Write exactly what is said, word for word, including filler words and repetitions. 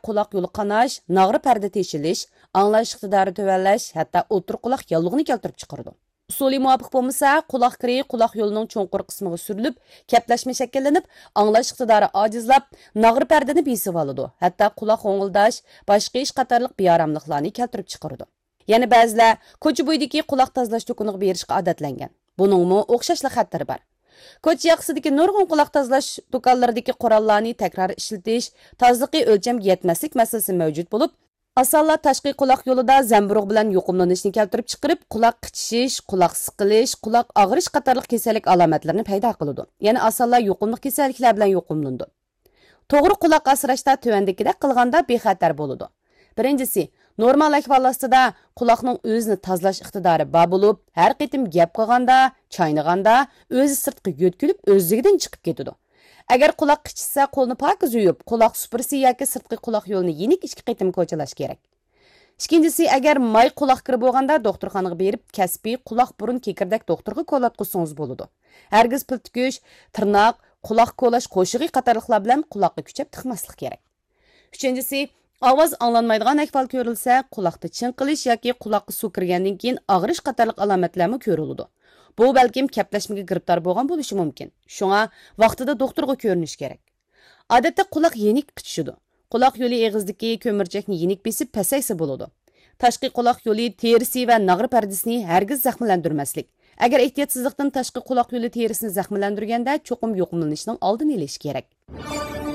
قۇلاق يولى قاناش، ناغرا پەردە تېشىلىش، ئاڭلاش ئىقتىدارى تۆۋەنلەش، ھەتتا ئوتتۇرا قۇلاق ياللۇغىنى كەلتۈرۈپ چىقىرىدۇ. ئۇسۇلى مۇۋاپىق بولمىسا، قۇلاق كىرى قۇلاق يولىنىڭ چوڭقۇر قىسمىغا سۈرۈلۈپ، كەپلەشمە شەكىللىنىپ، ئاڭلاش ئىقتىدارى ئاجىزلاپ، ناغرا پەردىنى بېسىۋالىدۇ، ھەتتا قۇلاق غوڭۇلداش، باش قېيىش قاتارلىق بىئاراملىقلارنى كەلتۈرۈپ چىقىرىدۇ. يەنە بەزىلەر كوچا بويىدىكى قۇلاق تازىلاش دۇكىنىغا بېرىشقا ئادەتلەنگەن. بۇنىڭمۇ ئوخشاشلا خەتىرى بار. كوچا ياقىسىدىكى نۇرغۇن قۇلاق تازىلاش دۇكانلىرىدىكى قوراللارنى تەكرار ئىشلىتىش، تازىلىقى ئۆلچەمگە يەتمەسلىك مەسىلىسى مەۋجۇت بولۇپ، ئاسانلا تاشقى قۇلاق يولىدا زەمبۇرۇغ بىلەن يۇقۇملىنىشنى كەلتۈرۈپ چىقىرىپ، قۇلاق قىچىشىش، قۇلاق سىقىلىش، قۇلاق ئاغرىش قاتارلىق كېسەللىك ئالامەتلىرىنى پەيدا قىلىدۇ. يەنە ئاسانلا يۇقۇملۇق كېسەللىكلەر بىلەن يۇقۇملىنىدۇ. توغرا قۇلاق ئاسراشتا تۆۋەندىكىدەك قىلغاندا بىخەتەر بولىدۇ. بىرىنچىسى، نورمال ئەھۋال ئاستىدا قۇلاقنىڭ ئۆزىنى تازىلاش ئىقتىدارى بار بولۇپ، ھەر قېتىم گەپ قىلغاندا، چاينىغاندا ئۆزى سىرتقا يۆتكىلىپ، ئۆزلۈكىدىن چىقىپ كېتىدۇ. ئەگەر قۇلاق قىچىشسا، قولنى پاكىز يۇيۇپ، قۇلاق سۇپۇرىسى ياكى سىرتقى قۇلاق يولىنى يېنىك ئىككى قېتىم كوچىلاش كېرەك. ئىككىنچىسى، ئەگەر ماي قۇلاق كىرى بولغاندا، دوختۇرخانىغا بېرىپ، كەسپىي قۇلاق بۇرۇن كېكىردەك دوختۇرغا كولاتقۇزسىڭىز بولىدۇ. ھەرگىز پىل تۈكۈش، تىرناق، قۇلاق كولاش قوشۇقى قاتارلىقلار بىلەن قۇلاققا كۈچەپ تىقماسلىق كېرەك. ئۈچىنچىسى، ئاۋاز ئاڭلانمايدىغان ئەھۋال كۆرۈلسە، قۇلاقتا چىڭقىلىش ياكى قۇلاققا سۇ كىرگەندىن كېيىن ئاغرىش قاتارلىق ئالامەتلەرمۇ كۆرۈلىدۇ. بۇ بەلكىم كەپلەشمىگە گىرىپتار بولغان بولۇشى مۇمكىن. شۇڭا ۋاقتىدا دوختۇرغا كۆرۈنۈش كېرەك. ئادەتتە قۇلاق يېنىك قىچىشىدۇ. قۇلاق يولى ئېغىزىدىكى كۆمۈرچەكنى يېنىك بېسىپ پەسەيسە بولىدۇ. تاشقى قۇلاق يولى تېرىسى ۋە ناغرا پەردىسىنى ھەرگىز زەخىملەندۈرمەسلىك. ئەگەر ئېھتىياتسىزلىقتىن تاشقى قۇلاق يولى تېرىسىنى زەخىملەندۈرگەندە، چوقۇم يۇقۇملىنىشنىڭ ئالدىنى ئېلىش كېرەك.